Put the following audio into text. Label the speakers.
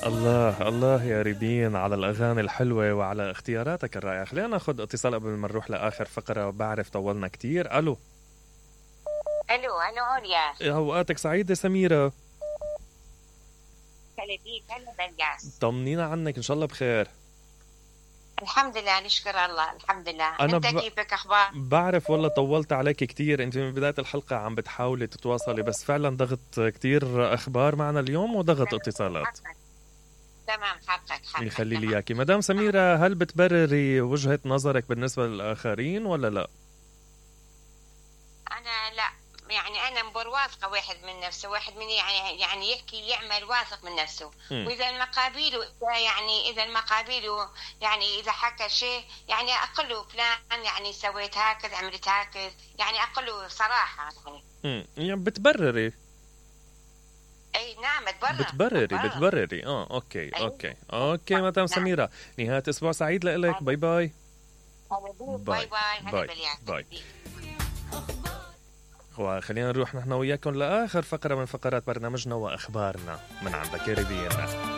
Speaker 1: الله الله يا ريبين على الأغاني الحلوة وعلى اختياراتك الرائعة. خلينا ناخد اتصال قبل ما نروح لآخر فقرة، بعرف طولنا كتير. ألو.
Speaker 2: الو عليا.
Speaker 1: أوقاتك سعيدة سميرة.
Speaker 2: هلا بيك، هلا بالياس.
Speaker 1: طمنينا عنك، إن شاء الله بخير.
Speaker 2: الحمد لله، نشكر الله، الحمد لله.
Speaker 1: أنا
Speaker 2: انت كيفك، اخبار؟
Speaker 1: بعرف والله طولت عليك كتير، انت من بداية الحلقة عم بتحاولي تتواصلي، بس فعلا ضغط كتير اخبار معنا اليوم وضغط اتصالات.
Speaker 2: تمام، حقك
Speaker 1: يخلي لي اياكي مدام سميرة. هل بتبرري وجهة نظرك بالنسبة للآخرين ولا لا؟
Speaker 2: انا لا، يعني انا مبر واثقه واحد من نفسه، واحد من يعني يحكي يعمل واثق من نفسه. واذا المقابيله اذا المقابيله يعني اذا حكى شيء يعني اقول له فلان يعني سويت هكذا، عملت هكذا، يعني اقول له صراحه
Speaker 1: يعني بتبرري.
Speaker 2: اي نعم،
Speaker 1: بتبرري. اوكي
Speaker 2: أيوة.
Speaker 1: اوكي مدام سميرة، نهاية اسبوع سعيد لك. باي باي.
Speaker 2: باي باي.
Speaker 1: باي. وخلينا نروح نحن وياكم لآخر فقرة من فقرات برنامجنا وأخبارنا من عند كاريبيان.